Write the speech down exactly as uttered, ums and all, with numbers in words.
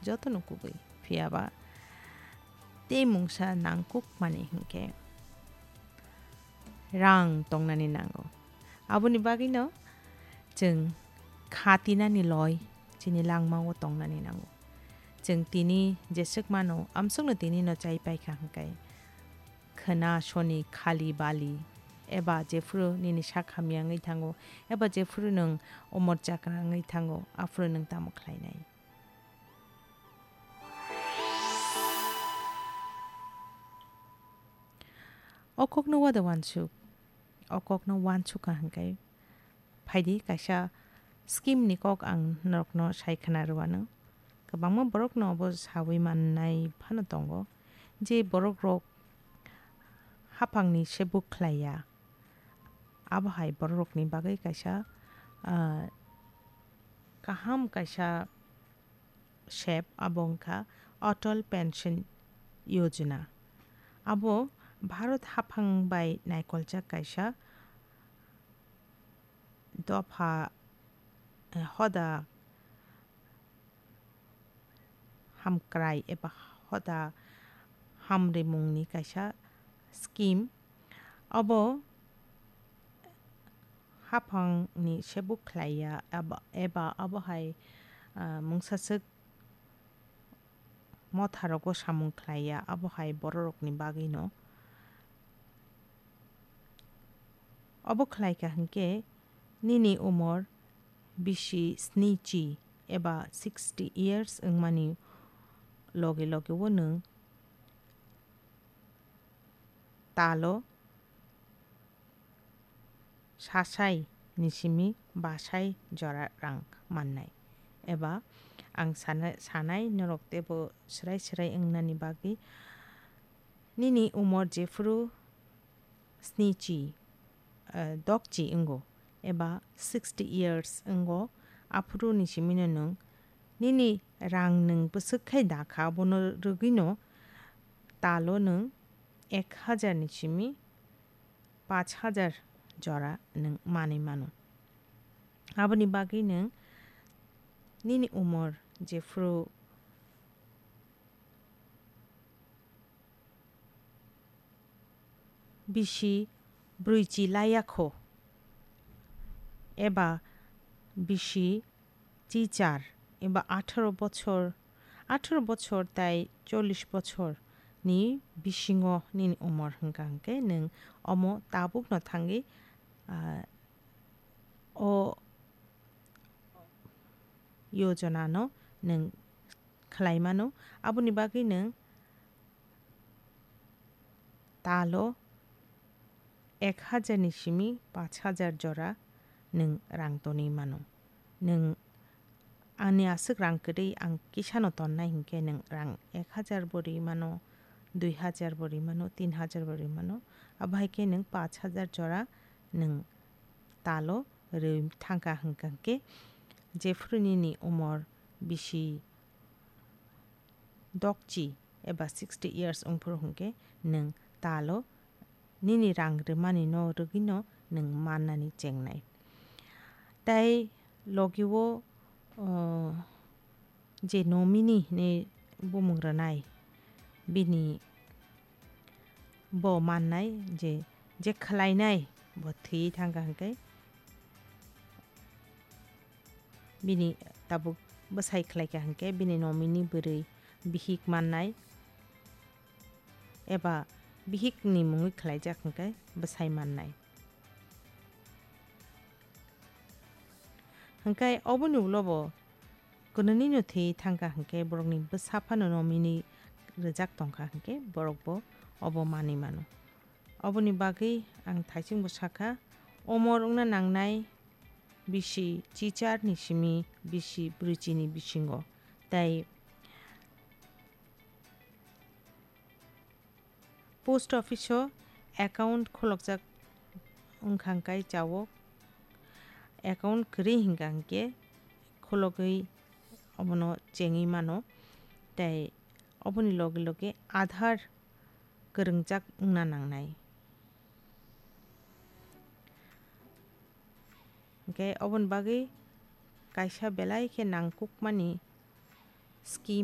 jotono kubui. Phiyaba tei mungsa nangkukmani hinkhe rang tongnani nango. Aboni bagwino chwng kha tinani loi chini langmao tongnani nango. Chwng tini jeswk mano, amsukno tinino chai paikha hinkhe khwna soni khali bali eba jephuru nini sak hamya wngwi thango, eba jephuru nwng umor chakra wngwi thango, aphuru nwng tamo khlainai? O kokno wada wansuk, o kokno wansukha hinkhe phaidi kaisa scheme ni kok ang norokno sai khna rwano. Kwbangma borokno obo sawi mannai phano tongo je borokrok haphangni sebuk khlaiya. Abo hai bororokni bagwi kaisa, ah, kaham kaisa sep, abo wngkha Atal Pension Yojana. Abo Bharat haphang bai naikoljak kaisa dopha, eh, hoda hamkrai eba hoda hamrimungni kaisa scheme. Abo haphangni sebuk khlaiya eba, eba abo hai, ah, mungsaswk motharogo samung khlaiya, abo hai bororokni bagwino. Obo khlaikha hinkhe nini umor bisi sni chi eba sixty years wngmani loge loge o nwng talo sasai ni simi basai jora rang mannai. Eba ang sana-, sanai norok teibo swrai swrai wngnani bagwi nini umor jephuru sni chi, eh, dok chi wngo eba sixty years wngo, aphuru ni simino nwng nini rang nwng bwswk khai da kha, abono rwgwino talo nwng ek hajar ni simi pach hajar jora nwng manwi mano. Aboni bagwi nwng nini umor jephuru bisi brwichi laiya kho eba bisi chichar eba atharo bochor, atharo bochor tai chollish bochor ni bisingo nini umor hwnkha hwnkhe nwng omo tabukno thangwi, ah, o yojana no nwng khlai mano. Aboni bagwi nwng talo ek hajar ni simi pach hajar jora nwng rang tonwi mano. Nwng ani aswk rang kwrwi ang kisano tonnai hinkhe nwng rang ek hajar bo rwi mano, dui hajar bo rwi mano, tin hajar bo rwi mano. Abo hai khe nwng pach hajar jora nwng talo rwi thangkha hwnkha hwnkhe jephuru nini umor bisi dokchi eba sixty years wngphuru hwnkhe nwng talo nini rang rwmani no rwgwino nwng mannani chengnai. Tai logi o, o, je nominee hinwi bumung rwnai, bini bo mannai je, je khlainai bo thwi thangkha hwnkhe, bini tabuk bwsai khlaikha hwnkhe bini nominee bwrwi bihik mannai eba bihikni mungwi khlaijak hwnkhe bwsai mannai. Hwnkhe oboni ulo bo kwnwini no thwi thangkha hwnkhe borokni bwsa phano nominee rwjak tongkha hwnkhe borok bo obo manwi mano. Oboni bagwi ang thaiching bo sakha, omor wngna nangnai bisi chichar ni simi bisi brwichi ni bisingo. Tai post office o account kholokjak wngkha hwnkhe chao, account kwrwi hwnkha hwnkhe khologwi obono chengwi mano. Tai oboni loge loge Aadhaar kwrwngjak wngna nangnai. Hwnkhe oboni bagwi kaisa belai khe nangkukmani scheme